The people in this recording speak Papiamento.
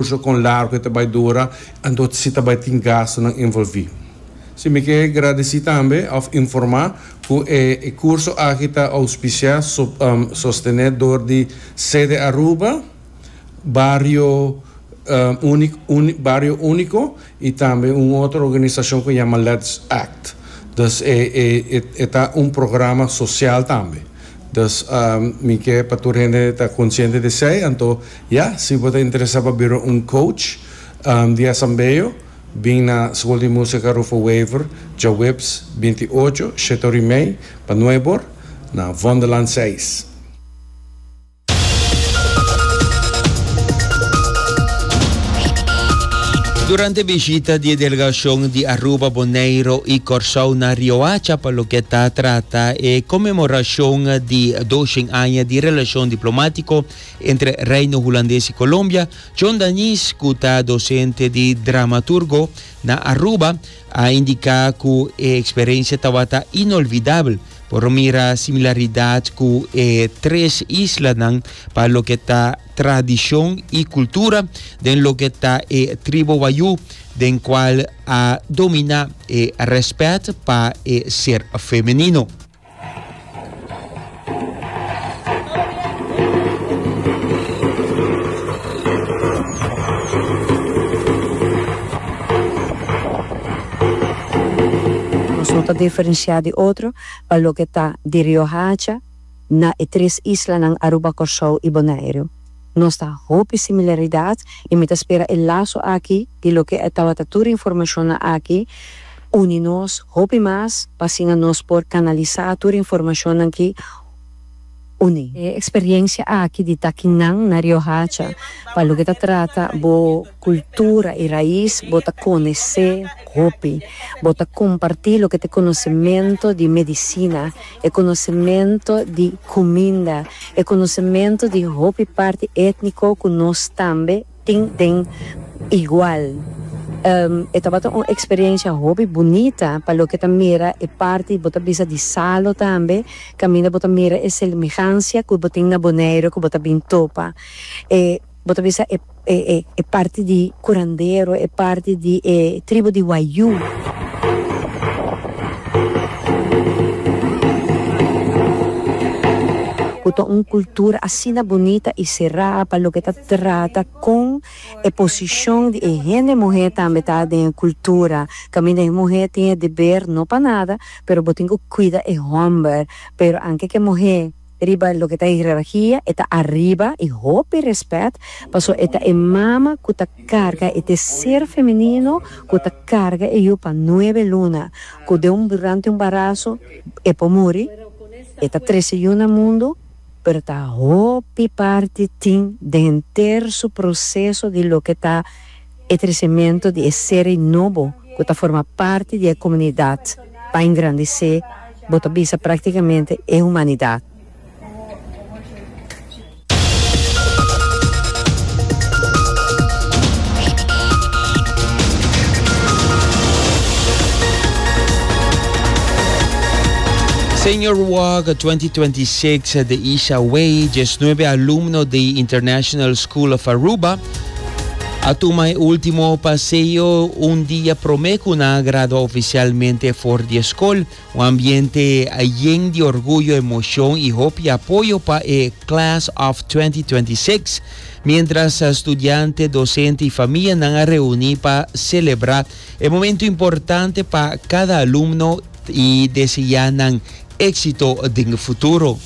Kurso kon largu e ta bai dura, anto si ta bai tin gastunan envolví. Si mi ke gradisí tambe òf informá ku e e kurso aki ta ouspisiá, sostené dor di Sede Aruba, Bario Bario Úniko i tambe un otro organisashon ku yama Let's Act. Dus e e e ta un programa sosial tambe. Dus mi ke pa tur hende ta konsiente di esei, anto Ya, si bo ta interesa pa bira un coach di asambeo, bin na School di Musica Rufo Wever djaweps 28, shete ora y mei pa nuebor, na Vondellaan seis. Durante bishita di e delegacion di Aruba, Boneiro y Corsou na Riohacha pa loke ta trata e conmemoracion di doshen aña di relacion diplomatico, Entre Reino Hulandes y Colombia, John Danies, cu ta docente di dramaturgo na Aruba, a indica cu e experiencia tabata inolvidabel. Por mira similaridad cu e tres islanan pa loke ta tradicion y cultura den loke ta e tribo Wayuu, den cual a domina e respet pa e ser femenino. Nos no ta diferenciá di otro pa loke ta di Riohacha na e tres islanan Aruba, Kòrsou i Boneiru. Nos ta hopi similaridad y mi ta spera e laso aki di loke e tabata tur informacionnan aki uni nos hopi mas pa asina nos por canalisa tur informacionnan ki uni. E experiencia aki di ta kinan na Riohacha pa loke ta trata bo cultura y raiz bo ta conoce hopi, bo ta comparti loke ta e conocemento di medicina, e conocemento di cuminda, e conocemento di hopi parti etnico cu nos tambe tin den igual. E tabata un experiencia hopi bunita pa loke ta mira e parti bo ta bisa di salo tambe, caminda bo ta mira e semihancia cu bo tin na Bonaire cu bo ta bin topa. E Bo ta bisa e e e parti di curandero, e parti di e tribu di Wayuu. Cu ta un cultura asina bunita y cerá pa loke ta trata con e posicion di e hende muher tambe ta den e cultura. Caminda e muher tin e deber, no pa nada, pero bo tin cu cuida e homber. Pero anke cu e muher. Riba loke ta hierarkia e ta ariba y hopi respet paso e ta e mama cu ta carga e ta e ser femenino cu ta carga e yu pa nuebe luna cu den un durante un barazo e por muri e ta trece yu na mundo pero ta hopi parti tin den henter su proceso di loke ta e trecemento di e ser ei nobo cu ta forma parti di e comunidad pa engrandece bo ta bisa practicamente e humanidad. Senior Walk 2026 de Isha Way, 19 alumno di International School of Aruba, A tuma e ultimo paseo un dia prome cu nan a gradua oficialmente for di e scol. Un ambiente yen di orguyo, emocion y hopi apoyo pa e Class of 2026, mientras studiante, docente y famianan a reuni pa celebra e momento importante pa cada alumno y desea nan exito den futuro.